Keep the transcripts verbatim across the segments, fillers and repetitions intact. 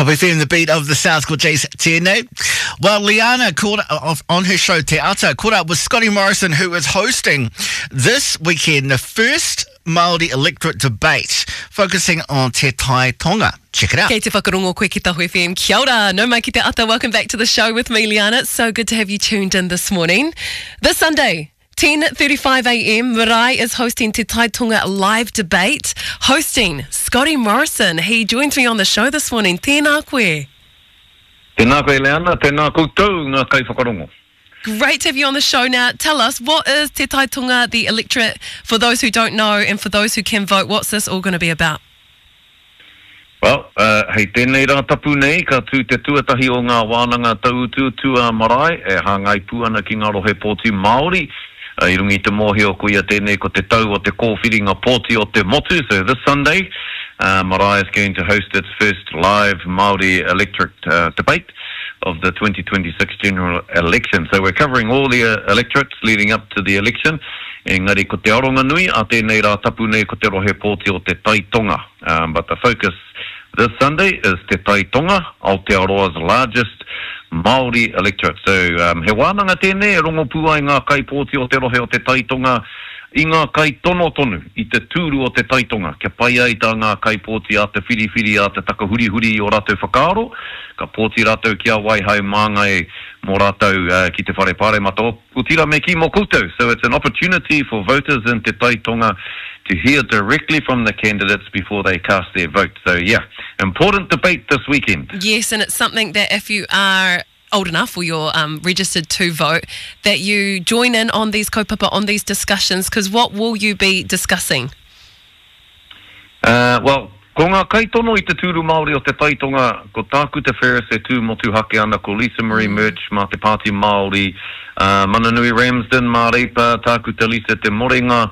Tapu F M, the beat of the South, called Chase T N A. Well, Liana caught off on her show Te Ata, caught up with Scotty Morrison, who is hosting this weekend the first Māori electorate debate focusing on Te Tai Tonga. Check it out. Kei te whakarongo koe ki Tahu F M. Kia ora, nau mai ki te ata. Welcome back to the show with me, Liana. It's so good to have you tuned in this morning. This Sunday, ten thirty-five a m, Marae is hosting Te Tai Tonga live debate, hosting Scotty Morrison. He joins me on the show this morning. Tēnā koe. Tēnā koe, Leana, tēnā koutou ngā kaiwhakarongo. Great to have you on the show now. Tell us, what is Te Tai Tonga, the electorate, for those who don't know and for those who can vote, what's this all going to be about? Well, uh, hei tēnei rā tapu nei, ka tū te tuatahi o ngā wānanga tauutuutu a marae, e hāngai pū ana ki ngā rohe pōti Māori. Uh, I runga i te mōhio koia tēnei ko te tau o te kōwhiringa pōti o te motu. So this Sunday, uh, Marae is going to host its first live Māori electorate uh, debate of the twenty twenty-six general election. So we're covering all the uh, electorates leading up to the election. Engari ko te aronga nui a tēnei rā tapu nei ko te rohe pōti o Te Tai Tonga. Um, but the focus this Sunday is Te Tai Tonga, Aotearoa's largest Māori electorate. So um, he wānanga tēnei e rongo pū ai ngā kaipōti o te rohe o Te Tai Tonga i ngā kaitono tonu i te tūru o Te Tai Tonga. Kia pai ai tā ngā kaipōti a te whiriwhiri, a te takahurihuri i o rātou whakaaro, ka pōti rātou ki a wai hai māngai mō rātou uh, ki te whare pāremata. Otirā me kī mō koutou. So it's an opportunity for voters in Te Tai Tonga to hear directly from the candidates before they cast their vote. So yeah, important debate this weekend. Yes, and it's something that if you are old enough or you're um, registered to vote, that you join in on these kaupapa, on these discussions, because what will you be discussing? Uh, well, ko ngā kaitono i te tūru Māori o Te Tai Tonga, ko Tākuta Ferris e tū motuhake ana, ko Lisa Marie Murch mā te Pāti Māori, uh, Mananui Ramsden mā Reipa, Tākuta Lisa Te Morenga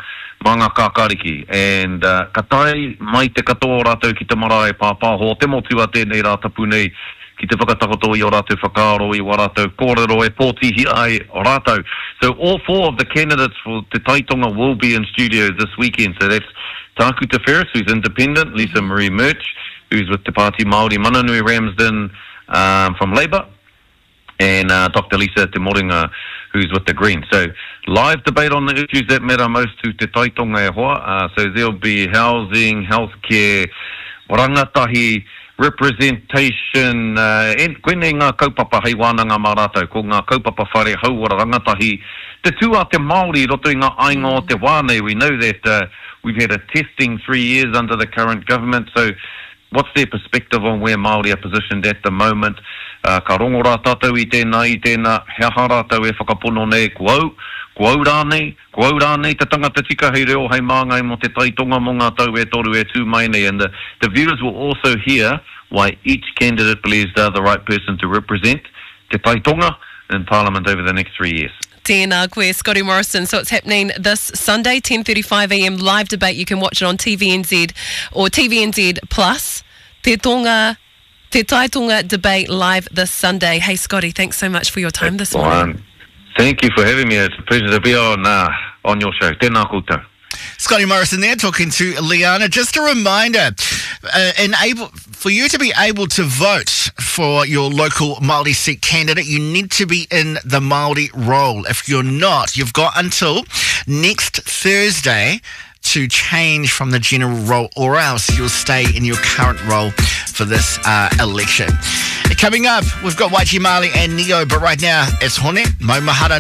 mā ngā Kākāriki. And uh, ka tae mai te katoa rātou ki te marae pāpāho te motu a tēnei rā tapu nei ki te whakatakoto i o rātou whakaaro, i wā rātou kōrero e pōtihi ai rātou. So all four of the candidates for Te Tai Tonga will be in studio this weekend. So that's Tākuta Ferris, who's independent, Lisa Marie Murch, who's with Te Pāti Māori, Mananui Ramsden um, from Labour, and uh, Doctor Lisa Te Morenga, who's with the Greens. So live debate on the issues that matter most to Te Tai Tonga e hoa. Uh, so there'll be housing, healthcare, rangatahi, representation, uh, en, koinei ngā kaupapa hei wānanga mā rātou, ko ngā kaupapa whare hauora rangatahi, te tū a te Māori roto i ngā ainga o te wā nei. We know that uh, we've had a testing three years under the current government, so what's their perspective on where Māori are positioned at the moment? Uh, ka rongo rā tātou i tēnā, i tēnā, he aha rātou e whakapono nei, ko au, ko au rānei, ko au rānei te tangata tika hei reo hei māngai mō Te Tai Tonga mō ngā tau e toru e tū mai nei. And the, the viewers will also hear why each candidate believes they're the right person to represent Te Tai Tonga in Parliament over the next three years. Tēnā koe, Scotty Morrison. So it's happening this Sunday, ten thirty-five a m live debate. You can watch it on T V N Z or T V N Z Plus. Te Tonga, Te Tai Tonga debate live this Sunday. Hey, Scotty, thanks so much for your time this morning. Well, thank you for having me. It's a pleasure to be on, uh, on your show. Tēnā koutou. Scotty Morrison there talking to Liana. Just a reminder, uh, enable, for you to be able to vote for your local Māori seat candidate, you need to be in the Māori roll. If you're not, you've got until next Thursday to change from the general roll, or else you'll stay in your current role for this uh, election. Coming up, we've got Waichi Marley and Neo, but right now it's Hone Maumahara.